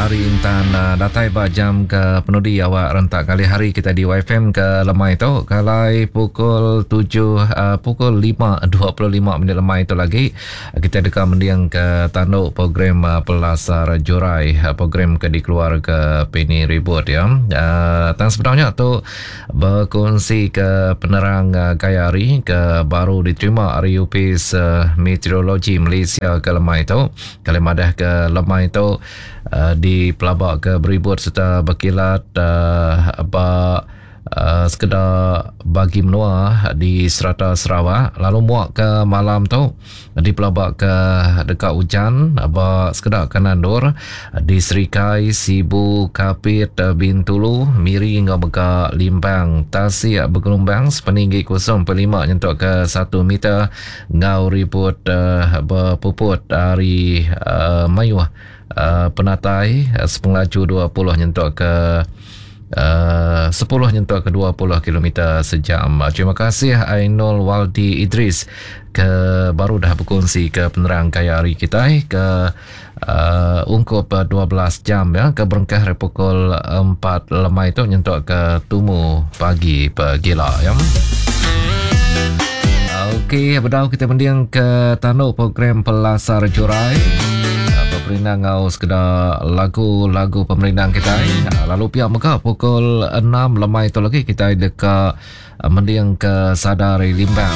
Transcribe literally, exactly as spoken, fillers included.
Hari Intan datai ba jam ke penudi awak rentak kali hari kita di Y F M ke lemai tu kalai pukul tujuh uh, pukul lima dua puluh lima minit lemai tu lagi kita deka mending ke tanduk program uh, Pelasar Jurai, program ke dikeluar ke Penny Ribut ya. Uh, tang sebenarnya tu berkongsi ke penerang uh, gaya hari ke baru diterima ari Upis uh, Meteorologi Malaysia ke lemai tu. Kali madah ke lemai tu uh, di pelabak ke beribut serta berkilat uh, ba uh, sekedar bagi menua di serata Sarawak, lalu muak ke malam tu di pelabak ke dekat hujan ba sekedar Kanandur di Serikai, Sibu, Kapit, Bintulu, Miri hingga Mega Limbang. Tasik bergelombang sepeninggi kosong perpuluhan lima nyentuk ke satu meter ngau ribut uh, berpuput dari uh, mayuh uh, penatai uh, sepengelaju dua puluh nyentuk ke Uh, sepuluh nyentuk ke dua puluh kilometer sejam. Terima kasih Ainul Waldi Idris ke baru dah berkongsi ke penerang kaya hari kita ke uh, ungkup dua belas jam ya ke berengkah dari pukul empat lemai tu nyentuk ke tumu pagi pegila ya. Okey, bedau kita mending ke tanduk program Pelasar Jurai. Pemerintah ngau sekedar lagu-lagu pemerintah kita. Lalu pihak mega pukul enam lemai tu lagi kita dekat mending ke Sadari Limbang.